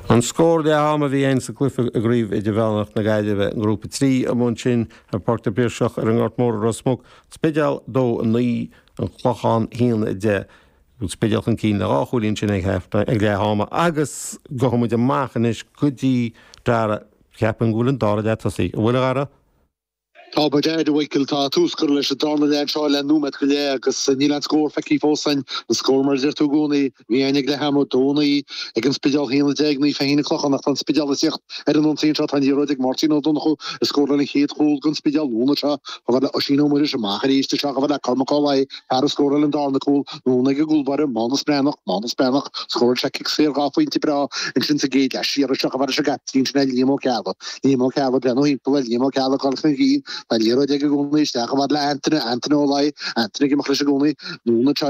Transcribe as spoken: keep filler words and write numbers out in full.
An scór leath ama a bhí ann sa gcluiche i gCraobh Idirmheánach na Gaillimhe i nGrúpa trí amuigh ansin ar Pháirc na bPiarsach ar an nGort Mór i Ros Muc, Spidéal dó a naoi, An Clochán haon a deich. An Spidéal chun cinn le dhá chúilín sin ag ag leath ama agus gabhfaidh muid amach anois go dtí Dara, ceapaim go bhfuil an dara leath tosaithe. An bhfuil a Dhara? Tá ba deir a Mhichael, tá tús curtha leis an darna leath anseo le nóiméad go leith agus níl aon scór feicthe fós againn. An scór mar a deir tú i gcónaí, bhí againn ag leath ama, dó a naoi ag an Spidéal, a haon a deich ag Naomh Feichín an Clochán ach tá an Spidéal ag tíocht ar an ionsaí anseo. Tá an liathróid ag Máirtín Ó Donnchú a scóráil an chéad chúl don Spidéal anonn anseo chomh fada le Oisín Ó Muiris amach arís isteach chomh fada le Cormac Ó Laoi, fear a scóráil an darna cúl anonn ag an gcúlbáire, Mánas Breathnach, Mánas Breathnach, scóráil sé cic saor dhá phointe breá ansin sa gcéad leath siar isteach chomh fada leis an gcaiptín sin é Liam Ó Ceallaigh. Liam Ó Ceallaigh, breathnú thimpeall ar Liam Ó Ceallaigh ag dul chun cinn, tá an liathróid aige i gcónaí isteach chomh fada le Antaine, Antaine Ó Laoi, Antaine ag imeacht leis i gcónaí, anonn anseo